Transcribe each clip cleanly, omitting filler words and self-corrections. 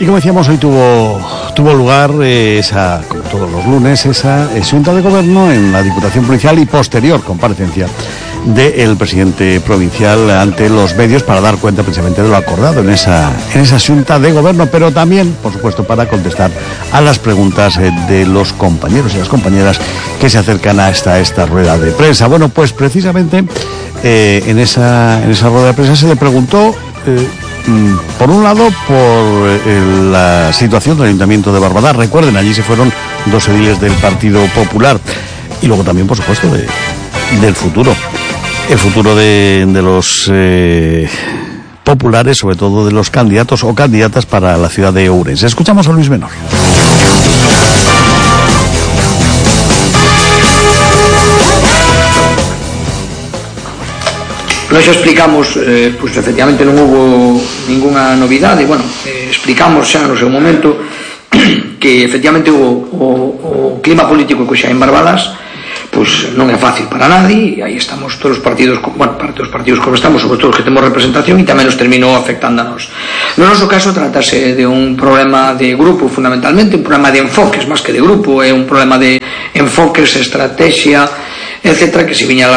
Y como decíamos, hoy tuvo lugar, como todos los lunes, esa Xunta de Gobierno en la Diputación Provincial y posterior comparecencia del presidente provincial ante los medios para dar cuenta precisamente de lo acordado en esa Xunta de Gobierno, pero también, por supuesto, para contestar a las preguntas de los compañeros y las compañeras que se acercan a esta rueda de prensa. Bueno, pues precisamente en esa rueda de prensa se le preguntó, por un lado, por la situación del Ayuntamiento de Barbadás. Recuerden, allí se fueron 2 ediles del Partido Popular, y luego también, por supuesto, del futuro. El futuro de los populares, sobre todo de los candidatos o candidatas para la ciudad de Ourense. Escuchamos a Luis Menor. Nós explicamos, pues efectivamente non hubo ninguna novidade. Bueno, explicamos xa no seu momento que efectivamente o clima político que xa en Barbadás pues non é fácil para nadie, e aí estamos todos os partidos, parte dos partidos como estamos, sobre todo os que temos representación, e tamén nos terminou afectando a nós. No noso caso tratase de un problema de grupo, fundamentalmente un problema de enfoques, máis que de grupo, é un problema de enfoques, estrategia, etcétera, que se viña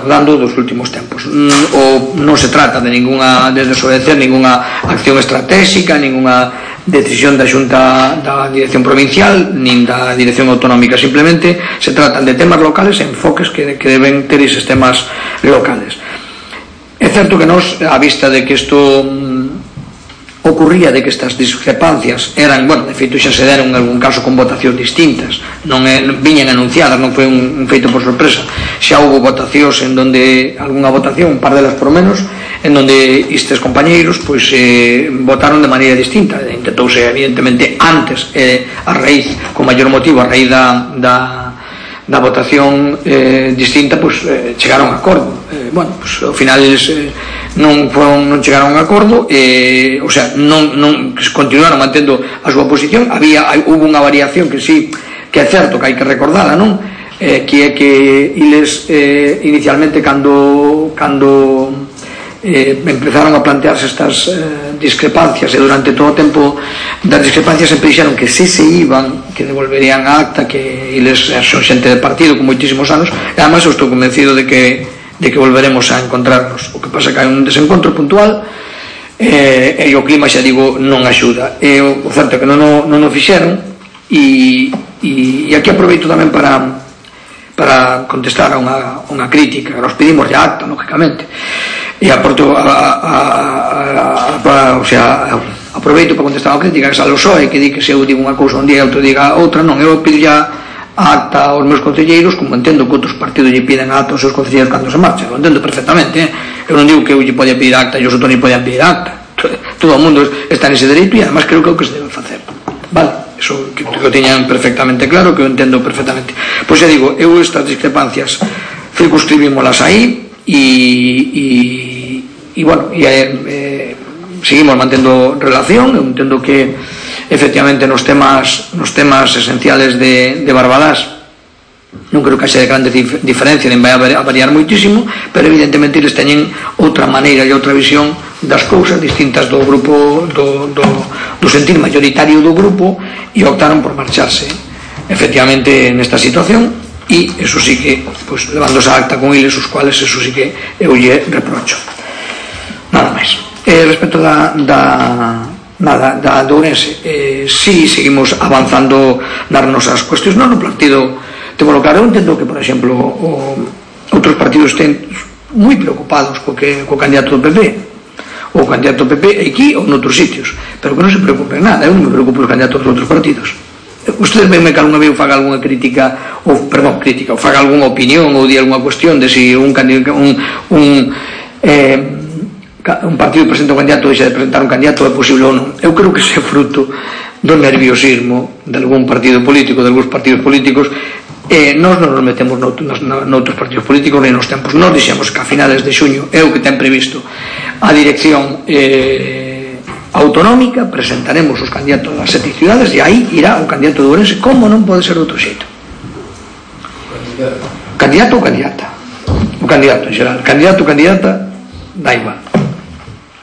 dando dos últimos tempos. Non se trata de desobedecer ninguna acción estratégica, ninguna decisión da Xunta da Dirección Provincial nin da Dirección Autonómica, simplemente se tratan de temas locales e enfoques que deben ter eses temas locales. É certo que nos, a vista de que isto ocurría, de que estas discrepancias eran, de feito xa se deron en algún caso con votacións distintas, non viñan anunciadas, non foi un feito por sorpresa, xa houve votacións en donde, algunha votación, un par delas por menos, en donde estes compañeiros votaron de maneira distinta. Intentouse evidentemente antes, a raíz, con maior motivo, a raíz da votación distinta, chegaron a acordo. Ao final eles non chegaron a acordo, o sea, non continuaron mantendo a súa posición. Hubo unha variación que sí, que é certo que hai que recordala, non? Que é que eles inicialmente cando empezaron a plantearse estas discrepancias, e durante todo o tempo das discrepancias sempre dixeron que se iban, que devolverían a acta, que eles son xente de partido con moitísimos anos, e además eu estou convencido de que volveremos a encontrarnos. O que pasa que hai un desencontro puntual, e o clima, xa digo, non axuda. O certo é que non o fixeron, e aquí aproveito tamén para contestar a unha crítica. Nos pedimos de acta, lógicamente, e aproveito para contestar a crítica que sale o PSOE, que di que se eu digo unha cousa un día e outro diga outra. Non, eu pido ya a acta aos meus concelleiros, como entendo que outros partidos lle piden a acta aos seus concelleiros cando se marchan. Lo entendo perfectamente, Eu non digo que eu lle podía pedir acta e os outros non podían pedir acta. Todo o mundo está nese dereito, e además creo que é o que se debe facer. Vale? Eso que o teñan perfectamente claro, que eu entendo perfectamente. Pois xa digo, eu estas discrepancias circunscribímolas aí, seguimos mantendo relación. Eu entendo que efectivamente nos temas esenciales de Barbadás non creo que haxa de grande diferencia, nin vai a variar moitísimo, pero evidentemente eles teñen outra maneira e outra visión das cousas distintas do grupo, do sentir mayoritario do grupo, e optaron por marcharse efectivamente nesta situación. E eso sí que, levando esa acta con eles, os cuales eso sí que eu lle reprocho. Nada máis. Respecto da Ourense, sí seguimos avanzando nas nosas cuestións. Non no partido temos claro. Eu entendo que, por exemplo, outros partidos estén moi preocupados co candidato do PP, o candidato do PP aquí ou noutros sitios, pero que non se preocupen nada. Eu non me preocupo os candidatos dos outros partidos. Ustedes venme que algunha vez faga algunha crítica, ou faga algunha opinión ou di algunha cuestión de si un partido presenta un candidato, deixa de presentar un candidato, é posible ou non. Eu creo que ese é fruto do nerviosismo de algún partido político, de algúns partidos políticos. Nós non nos metemos noutros partidos políticos nem nos tempos. Nós dixemos que a finales de xuño é o que ten previsto a dirección autonómica, presentaremos os candidatos das 7 cidades, e aí irá o candidato de Ourense, como non pode ser de outro xeito. Candidato ou candidata? O candidato en xeral. Candidato ou candidata, da igual.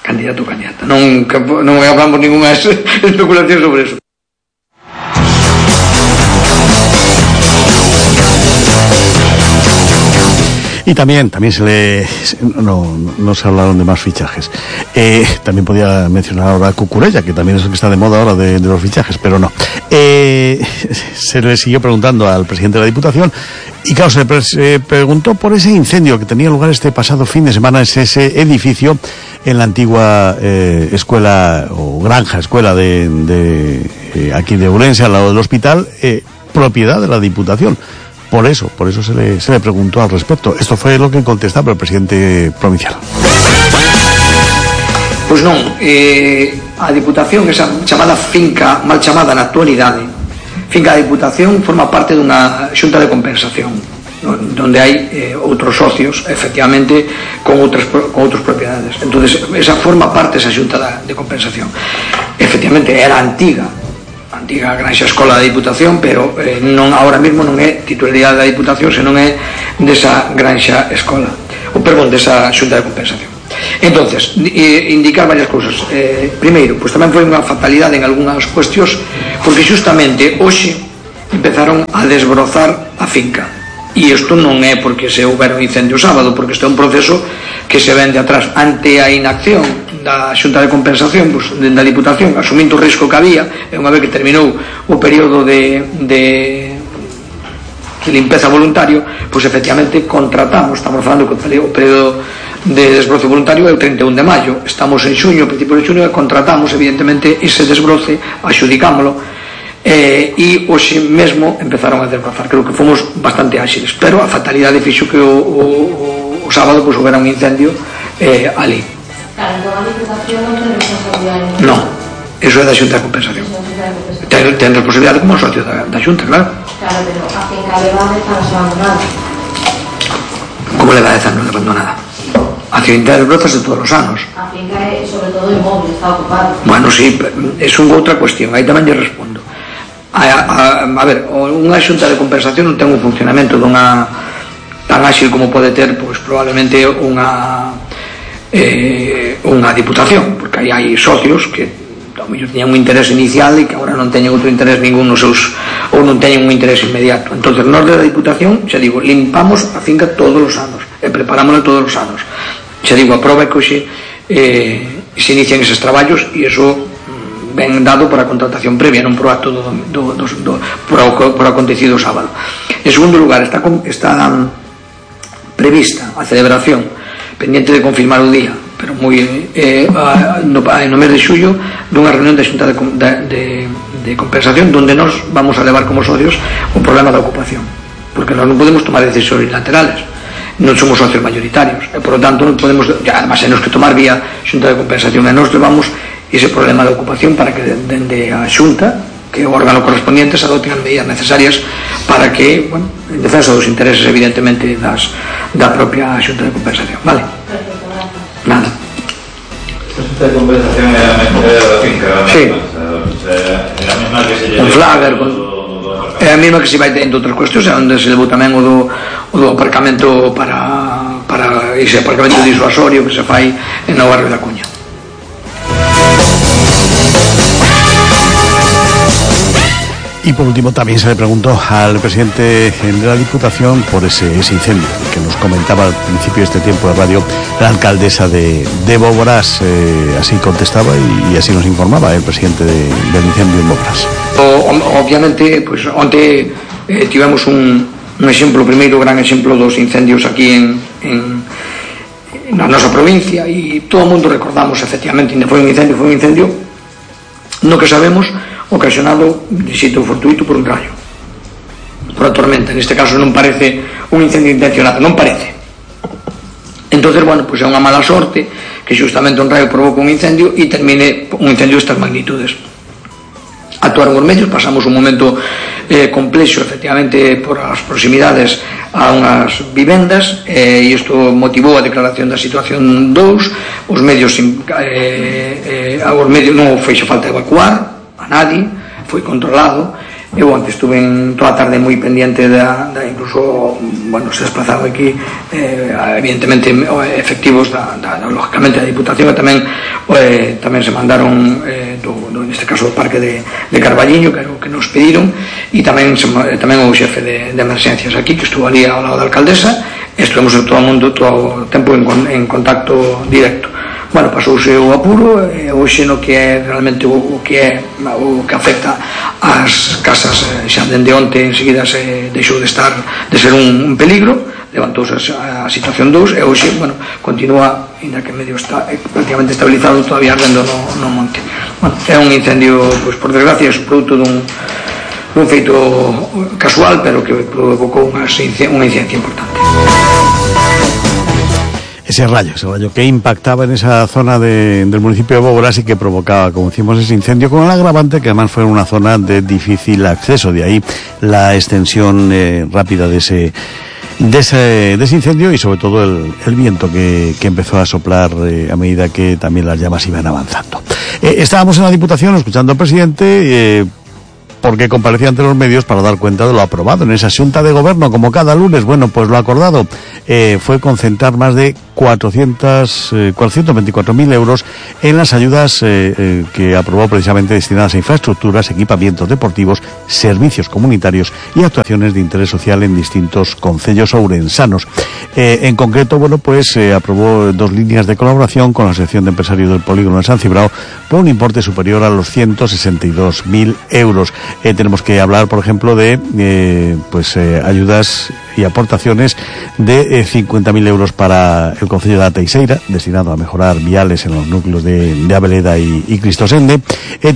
candidato ou candidata. Non hablamos ninguna especulación sobre eso. Y también no se hablaron de más fichajes. También podía mencionar ahora a Cucurella, que también es el que está de moda ahora de los fichajes, pero no. Se le siguió preguntando al presidente de la Diputación y claro, se preguntó por ese incendio que tenía lugar este pasado fin de semana en ese edificio en la antigua escuela o granja escuela de aquí de Ourense, al lado del hospital, propiedad de la Diputación. Por eso se le preguntó al respecto. Esto fue lo que contestaba el presidente provincial. Pois non, a Diputación, esa chamada finca, mal chamada na actualidade, finca da Diputación forma parte dunha xunta de compensación, donde hai outros socios, efectivamente, con outras propiedades. Entonces, esa forma parte esa xunta de compensación. Efectivamente, era antiga granxa escola da Diputación, pero non ahora mesmo non é titularidade da Diputación, senón é desa granxa escola, desa xunta de compensación. Entonces, indicar varias cousas. Primeiro, pois tamén foi unha fatalidade en algunhas cuestións, porque xustamente hoxe empezaron a desbrozar a finca, e isto non é porque se houbera un incendio sábado, porque isto é un proceso que se ven de atrás. Ante a inacción da xunta de compensación, pois, da Diputación, asumindo o risco que había, e unha vez que terminou o período de limpeza voluntario, pois efectivamente contratamos, estamos falando que o período de desbroce voluntario é o 31 de maio, estamos en xuño, principio de xuño, e contratamos evidentemente ese desbroce, axudicámolo, e hoxe mesmo empezaron a desbrozar. Creo que fomos bastante áxiles, pero a fatalidade fixo que o sábado pois houbera un incendio ali. Claro, entón a Diputación non ten responsabilidade. Non, eso é da xunta de compensación. Ten responsabilidade como socio da xunta, claro. Claro, pero a finca leva 10 anos abandonada. Como leva 10 anos abandonada? A finca desbrozase todos os anos. A finca é, sobre todo, inmóvil, está ocupado. Bueno, sí, é outra cuestión, aí tamén lle respondo. A ver, unha xunta de compensación non ten un funcionamento tan áxil como pode ter, pois, probablemente unha Diputación, porque aí hai socios que ao mellor teñan un interés inicial e que agora non teñen outro interés ningún nos seus, ou non teñen un interés inmediato. Entonces, nós da Diputación, xa digo, limpamos a finca todos os anos e preparámola todos os anos. Xa digo, a prova é que hoxe se inician eses traballos e iso ben dado por a contratación previa, non por o acto por acontecido o sábado. En segundo lugar, está prevista a celebración, pendiente de confirmar o día, pero no mes de xullo, dunha reunión da xunta de compensación donde nos vamos a levar como socios o problema da ocupación, porque nós non podemos tomar decisións unilaterales, non somos socios mayoritarios e por lo tanto non podemos, además temos que tomar vía xunta de compensación, e nos levamos ese problema da ocupación para que dende a xunta, que o órgano correspondiente, se adopten as medidas necesarias para que, bueno, en defensa dos intereses evidentemente da propia xunta de compensación, vale? Nada. A xunta de compensación é a finca, sí, é a mesma que se lle con Flagger, é a mesma que se vai tendo outras cuestións, onde se levou tamén o do aparcamento para ese aparcamento disuasorio que se fai en o barrio da Cuña. Y por último también se le preguntó al presidente de la Diputación por ese incendio que nos comentaba al principio de este tiempo de radio la alcaldesa de Boborás. Así contestaba y así nos informaba el presidente del incendio en Boborás. Obviamente, pues onte tivemos un exemplo, o primeiro gran exemplo dos incendios aquí na nosa provincia, e todo o mundo recordamos efectivamente, foi un incendio no que sabemos ocasionado de xeito fortuito por un rayo, por a tormenta. Neste caso non parece un incendio intencionado, non parece. Entonces, bueno, pues é unha mala sorte que xustamente un rayo provoca un incendio e termine un incendio de estas magnitudes. Actuaron os medios, pasamos un momento complexo, efectivamente, por as proximidades a unhas vivendas, e isto motivou a declaración da situación 2. Os medios non feixo falta evacuar a nadie, foi controlado, Eu antes estuve toda a tarde moi pendiente da incluso, bueno, se desplazaron aquí evidentemente efectivos lógicamente da Diputación, e tamén se mandaron neste caso o Parque de Carballiño, que nos pediron, e tamén o xefe de emerxencias aquí, que estuvo ali ao lado da alcaldesa. Estuvemos todo o tempo en contacto directo. Bueno, pasouse o apuro, hoxe no que é realmente o que afecta ás casas, xa dende onte enseguida se deixou de ser un peligro, levantouse a situación 2, e hoxe, bueno, continúa, ainda que medio está prácticamente estabilizado, todavía ardendo no monte. Bueno, é un incendio, pois por desgracia, é un produto dun feito casual, pero que provocou unha incidencia importante. Ese rayo que impactaba en esa zona del municipio de Bógoras y que provocaba, como decimos, ese incendio, con el agravante que además fue una zona de difícil acceso. De ahí la extensión rápida de ese incendio, y sobre todo el viento que empezó a soplar a medida que también las llamas iban avanzando. Estábamos en la Diputación escuchando al presidente, porque comparecía ante los medios para dar cuenta de lo aprobado en esa Xunta de Gobierno, como cada lunes. Bueno, pues lo acordado fue concentrar más de 424.000 euros en las ayudas que aprobó precisamente destinadas a infraestructuras, equipamientos deportivos, servicios comunitarios y actuaciones de interés social en distintos concellos ourensanos. En concreto, bueno, pues aprobó 2 líneas de colaboración con la Asociación de Empresarios del Polígono de San Cibrao por un importe superior a los 162.000 euros. Tenemos que hablar, por ejemplo, de ayudas y aportaciones de 50.000 euros para el concello de Teixeira, destinado a mejorar viales en los núcleos de Abeleda y Cristosende.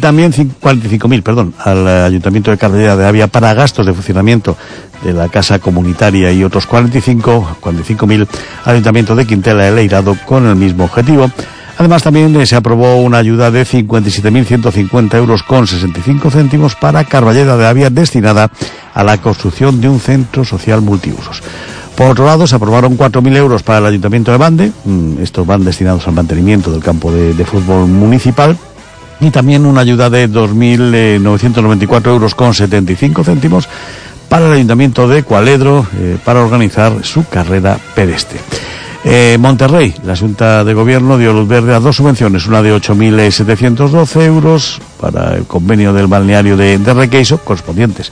También 45.000, al Ayuntamiento de Carballeda de Avia para gastos de funcionamiento de la casa comunitaria, y otros 45.000 al Ayuntamiento de Quintela de Leirado con el mismo objetivo. Además, también se aprobó una ayuda de 57.150 euros con 65 céntimos para Carballeda de Avia, destinada a la construcción de un centro social multiusos. Por otro lado, se aprobaron 4.000 euros para el Ayuntamiento de Bande. Estos van destinados al mantenimiento del campo de fútbol municipal. Y también una ayuda de 2.994 euros con 75 céntimos para el Ayuntamiento de Cualedro para organizar su carrera pedestre. Monterrey, la Junta de Gobierno dio luz verde a 2 subvenciones, una de 8.712 euros para el convenio del balneario de Requeixo, correspondientes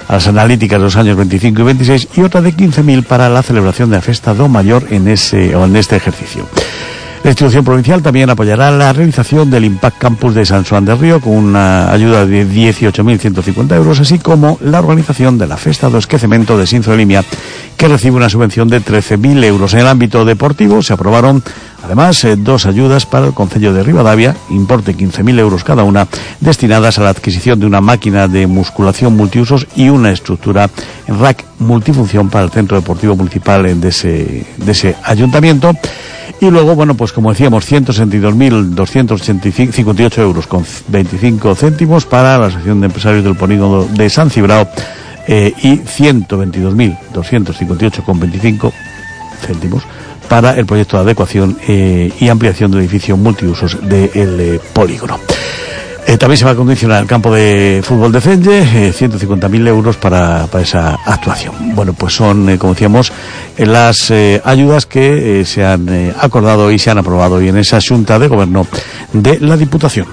a las analíticas de los años 25 y 26, y otra de 15.000 para la celebración de la Festa do Mayor en este ejercicio. La institución provincial también apoyará la realización del Impact Campus de San Xoán del Río con una ayuda de 18.150 euros, así como la organización de la Festa do Esquecemento de Sinzo de Limia, que recibe una subvención de 13.000 euros. En el ámbito deportivo se aprobaron además 2 ayudas para el concello de Ribadavia, importe 15.000 euros cada una, destinadas a la adquisición de una máquina de musculación multiusos y una estructura en rack multifunción para el centro deportivo municipal de ese ayuntamiento. Y luego, bueno, pues como decíamos, 162.258 euros con 25 céntimos para la Asociación de Empresarios del Polígono de San Cibrao, y 122.258 con 25 céntimos para el proyecto de adecuación y ampliación del edificio multiusos del polígono. También se va a acondicionar el campo de fútbol de Celle, 150.000 euros para esa actuación. Bueno, pues son, como decíamos, las ayudas que se han acordado y se han aprobado hoy en esa Xunta de Gobierno de la Diputación.